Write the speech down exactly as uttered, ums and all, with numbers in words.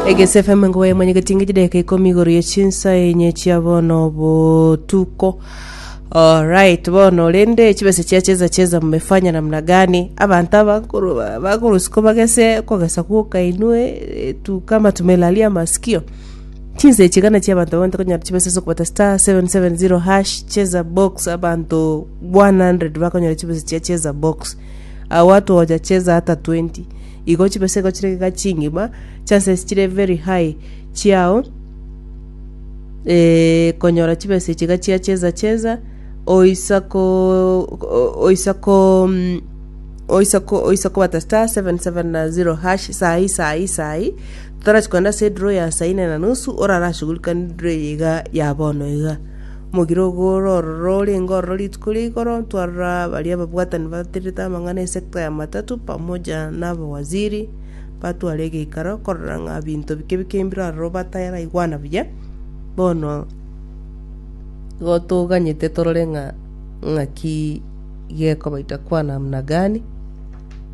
Egese F M ngo mwenye chideka ikomi igoro ya chinsa enye chia bono botuko. Alright, bono rende chibesa chia Cheza Cheza mmefanya namna gani? Abantu abakuru bakorusiko bagese kogesa gwoka inwe eh, tu kama tumelalia masikio. Chinsa echi gana chia abantu babante konyora chibesa ase okobata star seven seven zero hash, cheza box. Abantu one hundred bakonyora chibesa chia cheza box. Abo watu hawajacheza hata ishirini. Igo chibesa igo chire iga chingima, chances chire very high chiao eh, konyora chibesa echi iga chia Cheza Cheza. Oisako oisako mm, oisako oisako bata star seven seven zero hash sahi sahi sahi tutarachi kwenda ase draw ya saa ine na nusu. Orarashughulika ni draw eye iga ya bono iga omogiro ogo ororo orenge ororo rituko ria igoro twarora baria ababwatani baterete amang'ana esector ya matatu pamoja na abawaziri batware egeikaro korora ng'a binto bike bike mbire ororo bataraigwana buya. Bono igo toganyete torore ng'a ng'aki gekoba itakuwa namna gani.